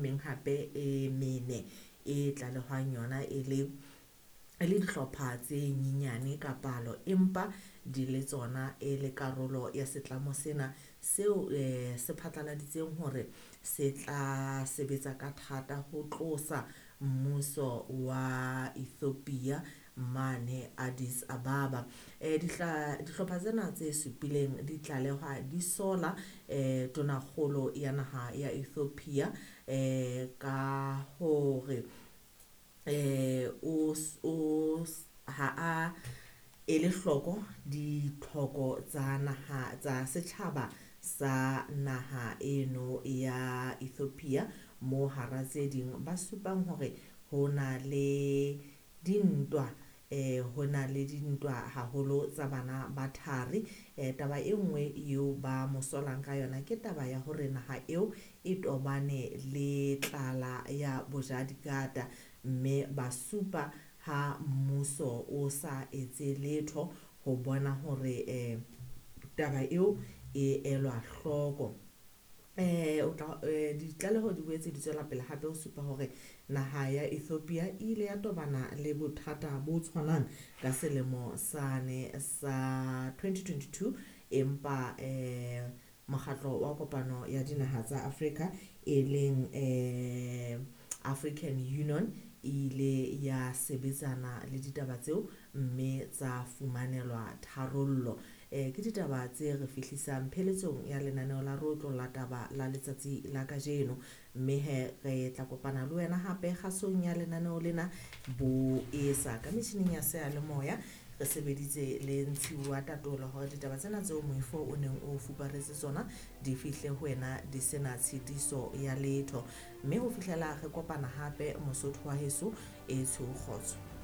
meng hape e mene e tlalehwang yona e le dihlopha tse nyenyane ka palo, empa di le tsona e le karolo ya setlamo sena seo se phatlaladitseng hore se tla sebetsa ka thata ho tlosa mmuso wa Ethiopia mane Addis Ababa. Dihlopha tsena tse supileng di tlalehwa di sola tonakgolo ya naha ya Ethiopia ka hore o ha a ele hloko ditlhoko tsa naha tsa setjhaba sa naha eno ya Ethiopia, mo hara tse ding ba supang hore ho na le dintwa haholo tsa bana ba thari. Taba e nngwe eo ba mo solang ka yona ke taba ya hore naha eo e tobane le tlala ya bojadikata, mme ba supa ha mmuso o sa etse letho ho bona hore taba eo e elwa hloko. Ditlaleho di boetse di tswela pele hape ho supa hore naha ya Ethiopia e ile ya tobana le bothata bo tshwanang ka selemo sane sa 2022, empa mokgatlo wa kopano ya dinaha tsa Afrika e leng African Union e ile ya sebetsana le ditaba tseo mme tsa fumanelwa tharollo. Ke ditaba tse re fihlisang pheletsong ya lenaneo la Rotlo la taba la letsatsi la kajeno, mme he re tla kopana le wena hape kgasong ya lenaneo lena bo esa ka metjhining ya seyalemoya. Re sebeditse le Ntshiwa Tatola hore ditaba tsena tseo moifo o neng o fuparetse tsona di fihle ho wena di sena tshitiso ya letho, mme ho fihlela re kopana hape Mosotho wa heso e tshweu kgotso.